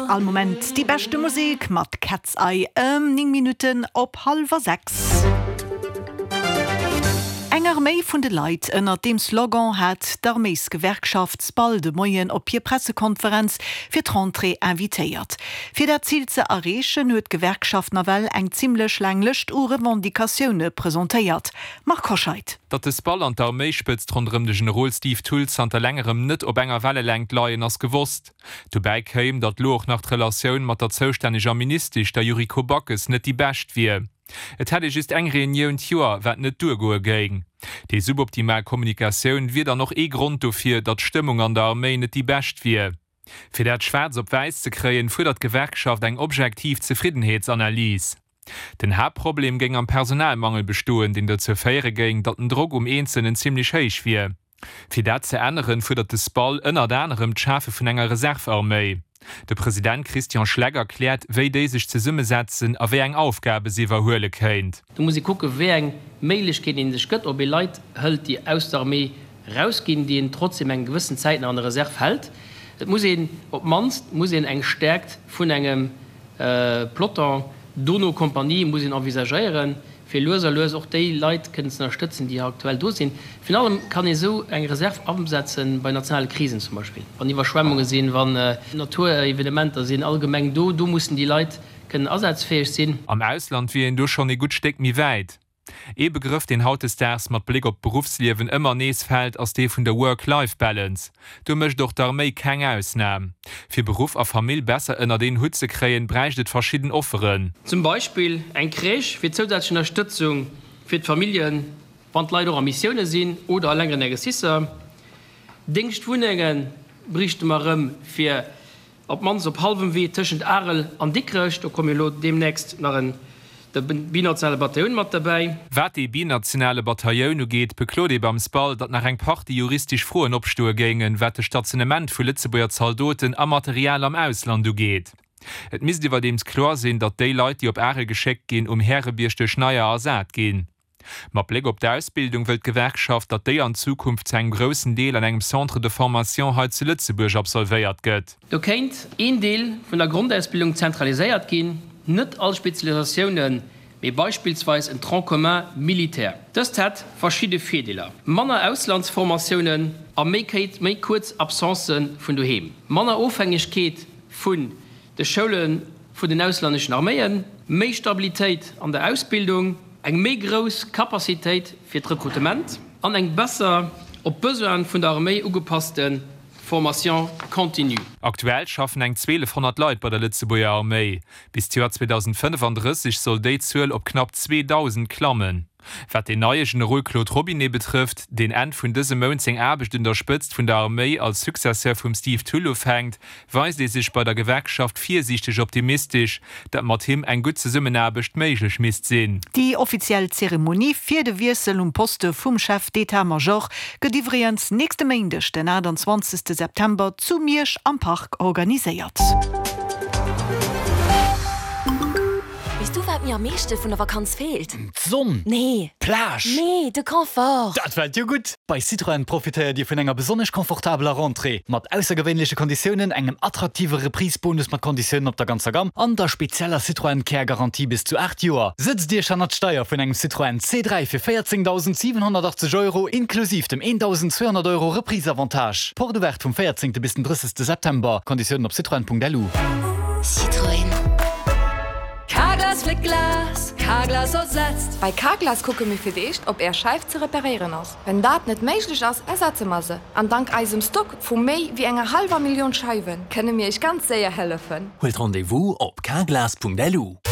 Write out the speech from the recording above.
All Moment déi beschte Musek mat Cat's Eye ëm 9 Minutten op hallwer 6. Eng Arméi vun de Leit, ënnert deem Slogan hat d'Arméisgewerkschaft SPAL de Moien op hir Pressekonferenz fir d'Rentrée invitéiert. Fir dat Zil ze erreechen, huet d'Gewerkschaft nawell eng zimmlech laang Lëscht u Revendicatioune presentéiert. Marc Hoscheid. Datt de SPAL an d'Arméispëtzt ronderëm de Generol Steve Thull zanter längerem net op enger Wellelängt leien, ass gewosst. Dobäi kéim, datt lo och nach d'Relatioun mat der zoustänneger Ministesch, der Yuriko Backes, net déi bescht wier. Et hätt ee just eng Reunioun d'Joer, wat net duergoe géing. Déi suboptimal Kommunikatioun wier dann och ee Grond dofir, datt d'Stëmmung an der Arméi net déi bescht wier. Fir dat schwaarz op wäiss ze kréien, fuerdert d'Gewerkschaft eng objektiv Zefriddenheetsanalys. Den Haaptproblem géing am Personalmangel bestoen, deen dozou féiere géing, datt den Drock um Eenzelnen zimmlech héich wier. Fir dat ze änneren, fuerdert de SPAL ënnert anerem d'Schafe vun enger Reserve-Arméi. De President Christian Schleck erkläert, wéi déi sech zesummesetzen a wéi eng Aufgabe se iwwerhuele kéint. Do muss ee kucken, wéi eng Méiglechkeeten ee sech gëtt, ob ee Leit hëlt, déi aus der Arméi rausginn, déi een trotzdem eng gewëssen Zäit nach an der Reserve hält. Et muss een, op d'mannst muss een eng Stärkt vun engem Peloton, dono Kompanie muss een envisagéieren, fir lues a lues och déi Leit kënnen ze ënnerstëtzen, déi aktuell do sinn. Virun allem kann ee esou eng Reserve asetze bei nationale Krisen zum Beispill, wann Iwwerschwemmunge sinn, wann Naturevenementer sinn, allgemeng do, do mussen déi Leit kënnen asazfäeg sinn. Am Ausland wier een do schonn ee gutt Stéck méi wäit. Ee Begrëff, deen hautdesdaags mat Bléck op d'Beruffsliewen ëmmer nees fält, ass dee vun der Work-Life-Balance. Do mécht och d'Arméi keng Ausnam. Fir Beruff a Famill besser ënnert een Hutt ze kréien, bräicht et verschidden Offeren. Zum Beispill eng Crèche fir zousätzlech Ënnerstëtzung fir d'Familljen, wann d'Leit och a Missioune sinn oder a längeren Exercicer. Déngschtwunnenge bräichte mer erëm fir Op d'mannst op hallwem Wee tëschent Arel an Dikrech, do komm jo elo deemnächst nach en de binationale Batailloun mat derbäi. Wat dee binationale Batailloun ugeet, beklot ee beim SPAL, datt nach eng Partie juristesch Froen opstoe géingen, wat de Stationnement vu Lëtzebuerger Zaldoten a Material am Ausland ugeet. Et misst iwwerdeems kloer sinn, datt déi Leit, déi op Arel geschéckt ginn, um Härebierg duerch neier ersat ginn. Mat Bléck op d'Ausbildung wëllt d'Gewerkschaft, datt déi an Zukunft zu engem groussen Deel an engem Centre de formation hei zu Lëtzebuerg absolvéiert gëtt. Do kéint een Deel vun der Grondausbildung zentraliséiert ginn, net all Spezialisatiounen, mee beispillsweis en Tronc commun militaire. Dëst hätt verschidde Virdeeler, manner Auslandsformatiounen a méi méi kuerz Absencë vun doheem, manner Ofhängegkeet vun de Schoule vun den auslänneschen Arméien, méi Stabilitéit an der Ausbildung, eng méi grouss Capacitéit fir d'Rekrutement an eng besser op d'Besoine vun der Arméi ugepasste Formation continue. Aktuell schaffen eng 1.200 Leit bei der Lëtzebuerger Arméi. Bis d'Joer 2035 soll déi Zuel op knapp 2.000 klammen. Wat deen neie Generol Claude Robinet betrëfft, deen Enn vun dësem Mount seng Aarbecht un der Spëtzt vun der Arméi als Successeur vum Steve Thull ufänkt, weist ee sech bei der Gewerkschaft virsiichteg optimistesch, datt mat him eng gutt Zesummenaarbecht méiglech misst sinn. Déi offiziell Zeremonie fir de Wiessel um Poste vum Chef d'État-Major gëtt iwwregens nächste Méindeg, den 28 September, zu Miersch am Park organiséiert. Weess du wat mir am meeschte vun der Vakanz feelt? D'Sonn! Nee! D'Plage! Nee, de Confort! Dat fält jo gutt! Bei Citroën profitéiert Dir vun enger besonnesch confortabeler Rentrée, mat aussergewéinleche Konditiounen, engem attraktive Reprise-Bonus mat Konditiounen op der ganzer Gamm an der spezieller Citroën Care Garantie bis zu 8 Joer. Sëtzt Iech hannert d'Steier vun engem Citroën C3 fir 14.780 Euro inklusiv dem 1.200 Euro Reprise-Avantage. Porte ouverte vum 14. bis den 30. September. Konditiounen op citroën.lu. Citroën. Carglass fléckt Glas, Carglass ersetzt. Bei Carglass kucke mir fir d'éischt, ob Är Scheif ze reparéieren ass. Wenn dat net méiglech ass, ersetze mer se. An dank eisem Stock vu méi wéi enger hallwer Millioun Scheiwen, kënne mir Iech ganz séier hëllefen. Huelt Rendez-vous op carglass.lu.